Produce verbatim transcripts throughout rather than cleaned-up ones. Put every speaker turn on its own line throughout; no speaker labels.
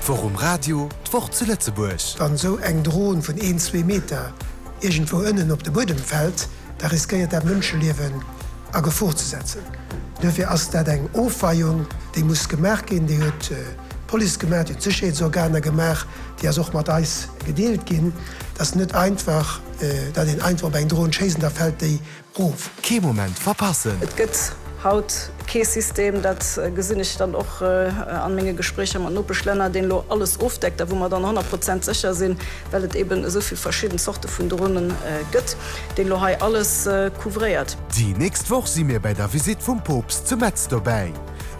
D'Woch um Radio, d'Woch zu Lëtzebuerg.
Wann esou eng Dron vun een, zwee Meter iergendwou ënnen op de Buedem fält, da riskéiert dat Mënscheliewen a Gefor ze setzen. Duerfir ass dat eng Ofweiung, déi muss gemaach ginn. Déi huet d'Police gemaach, déi huet d'Sécherheetsorganer gemaach, déi ass och mat eis gedeelt ginn. Et ass net einfach, datt een einfach op eng Dron schéisst an da fält déi erof.
Kee Moment verpassen!
Et gëtt haut kee System, dat gesinn ech dann och a menge Gespréicher mat Nopeschlänner, deen elo alles ofdeckt a wou mer dann honnert Prozent sécher sinn, well et eben esou vill verschidden Zorte vun Dronen gëtt, deen elo hei alles couvréiert.
Déi nächst Woch si mir bei der Visitt vum Poopst zu Metz dobäi.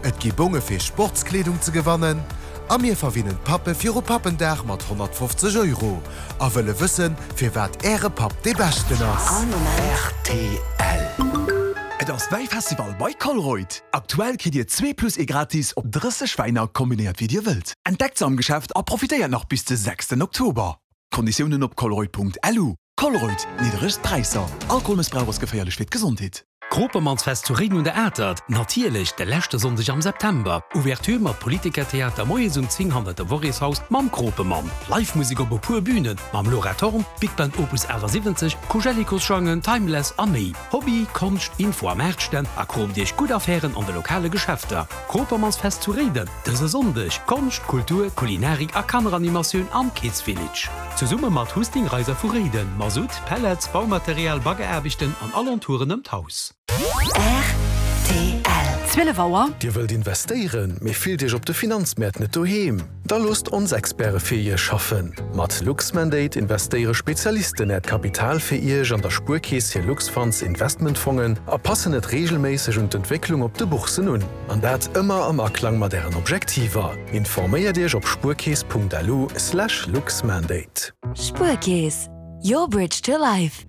Et gi Bonge fir Sportskleedung ze gewannen a mir verwinnen d'Pappe viru Pappendag mat honnertfofzeg Euro a wëlle wëssen, firwat äre Papp dee beschten ass.
Rtl. Et ass Wäifestival bei Colruyt! Aktuell kritt Dir zwee plus ee gratis op drësseg Wäiner, kombinéiert wéi Dir wëllt. Entdeckt se am Geschäft a profitéiert nach bis de sechsten Oktober. Konditiounen op colruyt.lu. Colruyt, nidderegst Präisser. Alkoholmëssbrauch ass geféierlech fir d'Gesondheet.
Kropemannsfest zu Réiden un der Atert, natierlech de leschte Sonndeg am September. Ouverture mat Politikertheater moies um zéng hannert dem Worréshaus mam Kropemann. Live Musek op e puer Bünen mam Laura Thorn, Big Band Opus achtasiwwenzeg, Koujellikos-Jangen, Timeless a méi. Hobby, Konscht, Info a Maartstänn a kroomt iech gutt Affären an de lokale Geschäfter. Kropemannsfest zu Réiden dëse Sonndeg, Konscht, Kultur, Kulinarik a Kanneranimatioun am Kids Village. Zesumme mat Husting Reiser vu Réiden, Masutt, Pellets, Baumaterial, Baggeraarbechten an Alentouren ëm d'Haus.
Rtl. Zwielef Auer.
Dir wëllt investéieren, mee fillt Iech op de Finanzmäert net doheem? Da loosst ons Experte fir Iech schaffen. Mat Luxmandate investéiere Spezialisten Äert Kapital fir Iech an der Spuerkeess hir Luxfunds Investmentfongen a passen et reegelméisseg un d'Entwécklung op de Bourssen un. An dat ëmmer am Aklang mat Ären Objektiver. Informéiert Iech op spuerkeess punkt lu slash luxmandate.
Spuerkeess, your bridge to life.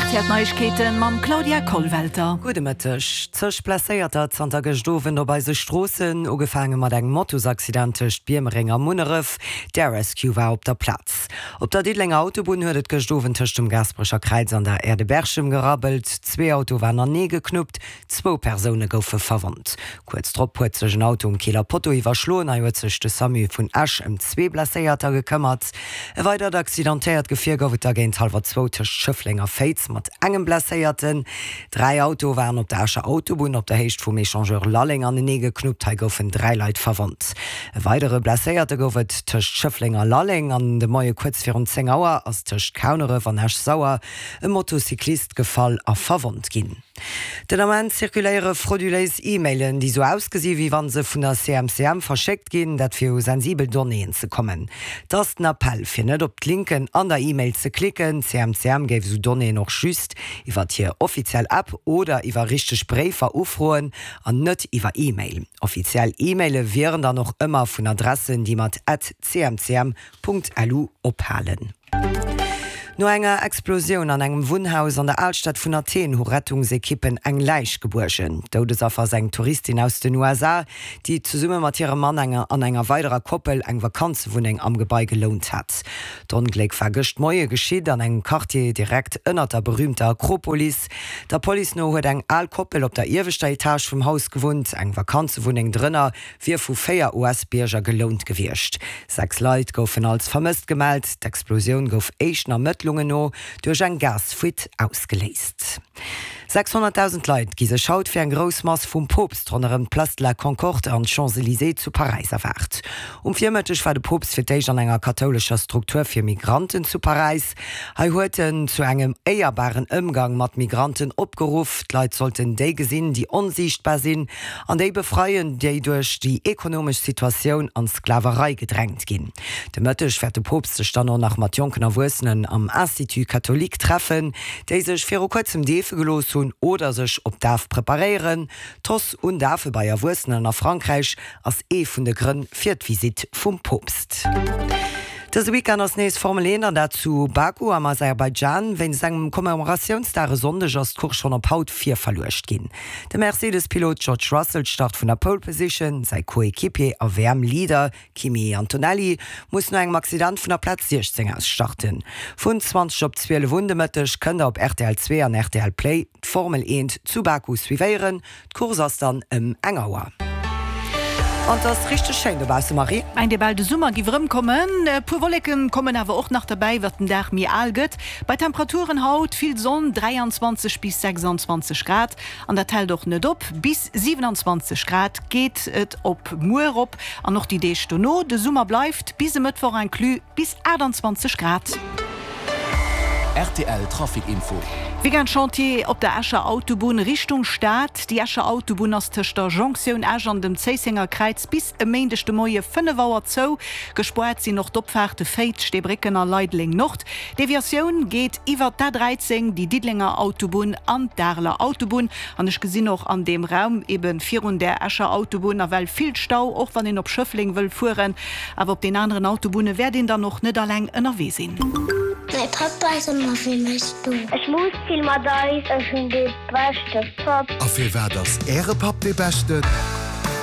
R T L Neiegkeeten mam Claudia Kollwelter.
Gudde Mëtteg. Zeg Blesséierter zanter gëscht Owend op eise Stroossen, ugefaange mat engem Motosaccident tëscht Biermereng a Munneref. D'Air Rescue war op der Plaz. Op der Diddelenger Autobunn huet et gëscht Owend tëscht dem Gaasperecher Kräiz an der Aire de Berchem gerabbelt. Zwee Autoe waren anenee geknuppt, zwou Persoune goufe verwonnt. Kuerz drop huet sech en Auto um Keeler Potto iwwerschloen, hei huet sech de SAMU vun Esch ëm zwee Blesséierter gekëmmert. E weidert accidentéiert Gefier gouf et da géint hallwer zwou tëscht Schëffleng a Féiz mat engem Blesséierten. Dräi Autoe waren op der Escher Autobunn op der Héicht vum Echangeur Lalleng anenee geknuppt, hei goufen dräi Leit verwonnt. E weidere Blesséierte gouf et tëscht Schëffleng a Lalleng an de Moie kuerz virun zéng Auer ass tëscht Kauneref an Esch-Sauer e Motocyclist gefall a verwonnt ginn. Den Ament zirkuléiere frauduléis E-Mailen, déi sou ausgesi wéi wann se vun der C M C M verschéckt ginn, dat fir u sensibel Donnéeën ze kommen. Et ass den Appell, fir net op d'Linken an der E-Mail ze klicken. D'C M C M géif esou Donnéeën och just iwwer hir offiziell App oder iwwer richteg Bréifer ufroen an net iwwer E-Mail. Offiziell E-Maile wieren dann och ëmmer vun Adressen, déi mat at cmcm Punkt lu ophalen. No enger Explosioun an engem Wunnhaus an der Alstad vun Athen hu Rettungsekippen eng Läich gebuergen. Doudesaffer ass eng Touristin aus den U S A, déi zesumme mat hirem Mann enger an enger weiderer Koppel eng Vakanzewunneng am Gebai gelount hat. D'Ongléck war gëscht Moie geschitt an engem Quartier direkt ënnert der berüümter Akropolis. Der Police no huet eng al Koppel op der ieweschter Etage vum Haus gewunnt, eng Vakanzewunneng drënner wier vu véier U S-Bierger gelount gewiescht. Sechs Leit goufen als vermësst gemellt. D'Explosioun gouf éischten Ermëttlungen no duerch eng Gasfuite ausgeléist. sechshonnertdausend Leit gi sech haut fir eng grouss Mass vum Poopst ronderëm d'Place de la Concorde an d'Champs-Élysées zu Paräis erwaart. Um Virmëtteg war de Poopst fir d'éischt an enger kathoulescher Struktur fir Migranten zu Paräis. Hei huet en zu engem éierbaren Ëmgang mat Migranten opgeruff. D'Leit sollten déi gesinn, déi onsiichtbar sinn, an déi befreien, déi duerch déi ekonomesch Situatioun an d'Sklaverei gedrängt ginn. De Mëtteg wäert de Poopst sech dann och nach mat jonken Erwuessenen am Institut catholique treffen, déi sech viru kuerzem deefe gelooss hunn oder sech op d'Daf preparéieren. D'Hausse un Dafe bei Erwuessenen a Frankräich ass ee vun de Grënn fir d'Visitt vum Poopst. Dëse Weekend ass nees Formel eent an dat zu Baku am Aserbaidschan. Wéinst engem Commemoratiounsdag e Sonndeg ass d'Course schonn op haut virverluecht ginn. De Mercedes-Pilot George Russell start vun der Pole Position, säi Coéquipier a W M-Leader Kimi Antonelli muss no engem Accident vun der Plaz siechzéng aus starten. Vun zwanzeg op zwielef un de Mëtteg kënnt der op R T L zwee an R T L Play d'Formel eent zu Baku suivéieren. D'Course ass dann ëm eng Auer. An et ass richteg schéin dobausse, Marie.
Mengt ee bal de Summer giff erëmkommen. E puer Wolleken kommen awer och nach derbäi, wat den Dag méi al gëtt. Bei Temperaturen haut vill Sonn, dräianzwanzeg bis sechsanzwanzeg Grad, an dat hält och net op. Bis siewenanzwanzeg Grad geet et op muer erop an och déi Deeg dono. De Summer bleift bis e Mëttwoch inclus bis aachtanzwanzeg Grad.
Rtl Trafic Info.
Weekend Chantier op der Escher Autobunn Richtung Stad. Déi Escher Autobunn ass tëscht der Jonktioun Esch an dem Zéissenger Kräiz bis e Méindeg de Moie fënnef Auer zou. Gespoart sinn och d'Opfaarte Féiz, Steebrécken a Leideleng Nord. D'Deviatioun geet iwwer d'A dräizéng, déi Diddelenger Autobunn an d'Areler Autobunn. An ech gesinn och an deem Raum ebe virun där Escher Autobunn nawell vill Stau, och wann een op Schëffleng wëll fueren. Awer op den aneren Autobunne wäert een dann och net alleng ënnerwee sinn.
Mäi Papp ass ëmmer fir mech do. Ech muss vill mat eis. Ech hunn dee beschte Papp.
A firwat ass Äre Papp dee beschten?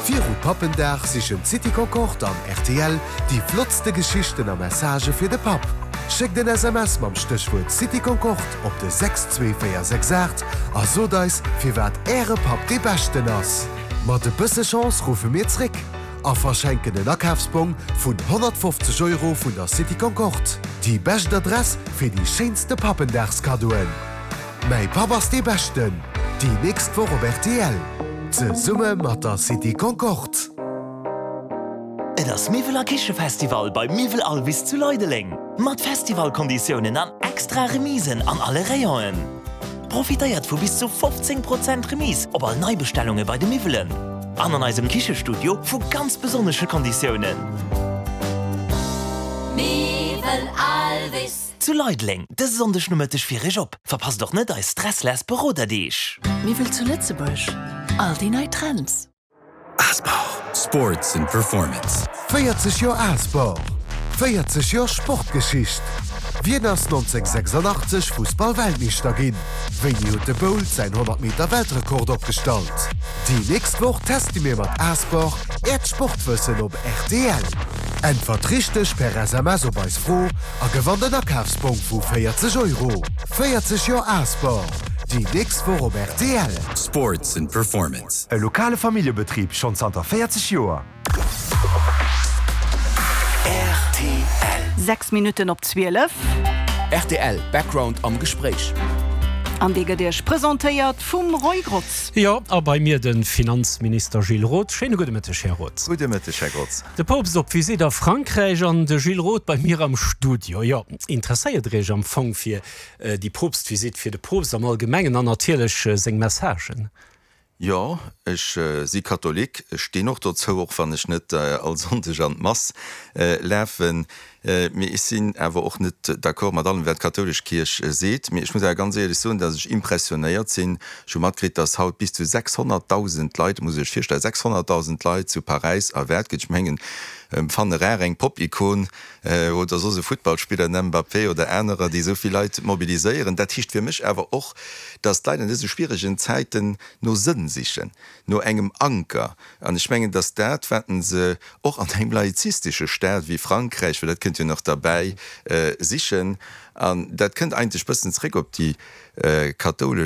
Viru Pappendag sichen d'City Concorde an rtl déi flottste Geschichten a Messagë fir de Papp. Schéckt en S M S mam Stéchwuert City Concorde op de sechs zwee véier sechs aacht a sot eis, firwat Äre Papp dee beschten ass. Mat e bësse Chance ruffe mir zréck a verschenken en Akafsbong vun honnertfofzeg Euro vun der City Concorde. Déi bescht Adress fir déi schéinste Pappendagskaddoen. Mäi Papp ass dee Beschten! Déi nächst Woch op rtl, zesumme mat der City Concorde.
Et ass Miwwel a Kichefestival bei Miwwel Alvis zu Leideleng! Mat Festivalkonditiounen an extra Remisen an alle Rayonen. Profitéiert vu bis zu fofzéng Prozent Remise op all Neibestellunge bei de Miwwelen an an eisem Kichestudio vu ganz besonnesche Konditiounen. Miwwel Alvis. Zu Leideleng dëse Sonndeg Nomëtteg fir Iech op. Verpasst och net eis Stressless Beroderdeeg.
Miwwel zu Lëtzebuerg, all déi nei Trends.
Asport. Sports and Performance. véierzeg Joer Asport, véierzeg Joer Sportgeschicht. Wien ass nonzénghunnertsechsandachtzeg Fussball-Weltmeeschter ginn? Wéini huet de Bolt säin honnert Meter Weltrekord opgestallt? Déi nächst Woch teste mir mat Asport Äert Sportwëssen op rtl. Äntwert richteg per S M S op eis Fro a gewannt en Akafsbong vu véierzeg Euro. véierzeg Joer Asport, déi nächst Woch op rtl.
Sports and Performance.
E lokale Familljebetrib schonn zanter véierzeg Joer.
Rtl.
Sechs Minutten op zwielef.
Rtl Background am Gespréich.
An dee gëtt Iech presentéiert vum Roy Grotz.
Jo, a bei mir de Finanzminister Gilles Roth. Schéine gudde Mëtteg, Här Roth.
Gudde Mëtteg, Här Grotz.
De Poopst op Visitt a Frankräich an de Gilles Roth bei mir am Studio. Jo, interesséiert Der Iech am Fong fir déi Poopstvisitt, fir de Poopst am Allgemengen an natierlech seng Messagen?
Jo, ech si Katholik, ech stinn och dozou, och wann ech net all Sonndeg an d'Mass lafen. Mee ech sinn awer och net d'accord mat allem, wat d'kathoulesch Kierch seet. Mee ech muss awer ganz éierlech soen, datt ech impressionéiert sinn. Ech hu matkritt, datt haut bis zu sechshonnertdausend Leit, muss ee sech virstellen, sechshonnertdausend Leit zu Paräis erwaart ginn. Ech mengen, fanne rar eng Pop-Ikon oder soss e Futtballspiller, en Mbappé oder anerer, déi esou vill Leit mobiliséieren. Dat heescht fir mech awer och, datt d'Leit an dëse schwieregen Zäiten no Sënn sichen, no engem Anker. An ech mengen, datt dat, wat se och an engem laizistesche Staat wéi Frankräich, well dat kënnt jo nach derbäi, sichen, an dat kënnt eigentlech bëssen zréck op déi kathoulesch